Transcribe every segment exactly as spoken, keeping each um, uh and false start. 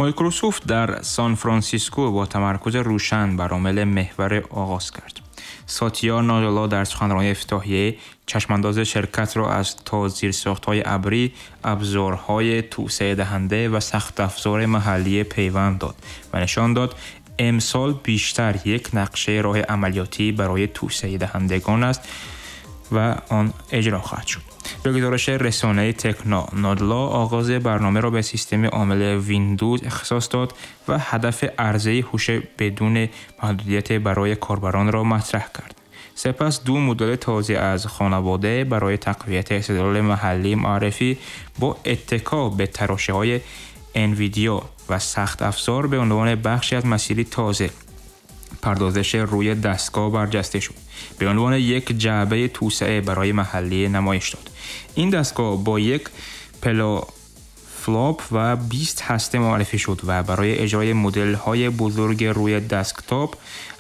مایکروسافت در سان فرانسیسکو با تمرکز روشن بر عامل محور آغاز کرد. ساتیا نادلا در سخنرانی افتتاحیه چشمانداز شرکت را از تا زیرساخت‌های ابری، ابزارهای توسعه دهنده و سخت افزار محلی پیوند داد و نشان داد امسال بیشتر یک نقشه راه عملیاتی برای توسعه دهندگان است و آن اجرا خواهد شد. به گزارش رسانه تکنا، نادلا آغاز برنامه را به سیستم عامل ویندوز اختصاص داد و هدف عرضه هوش بدون محدودیت برای کاربران را مطرح کرد. سپس دو مدل تازه از خانواده برای تقویت استدلال محلی معرفی با اتکا به تراشه‌های انویدیا و سخت افزار به عنوان بخشی از مسیری تازه پردازش روی دستگاه برجسته شد. به عنوان یک جعبه توسعه برای محلی نمایش داد. این دستگاه با یک پلا فلاپ و بیست هسته معرفی شد و برای اجرای مدل‌های بزرگ روی دسکتاپ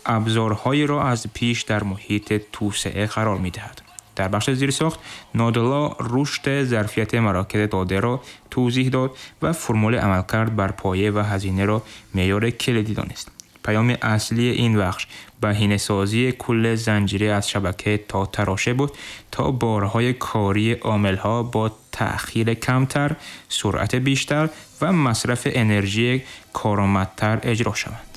ابزارهایی را از پیش در محیط توسعه قرار می‌دهد. در بخش زیرساخت، نادلا رشد ظرفیت مراکز داده را توضیح داد و فرمول عملکرد بر پایه و هزینه را معیار کلیدی دانست. پیام اصلی این بخش بهینه‌سازی کل زنجیره از شبکه تا تراشه بود تا بارهای کاری عامل‌ها با تأخیر کمتر، سرعت بیشتر و مصرف انرژی کارآمدتر اجرا شوند.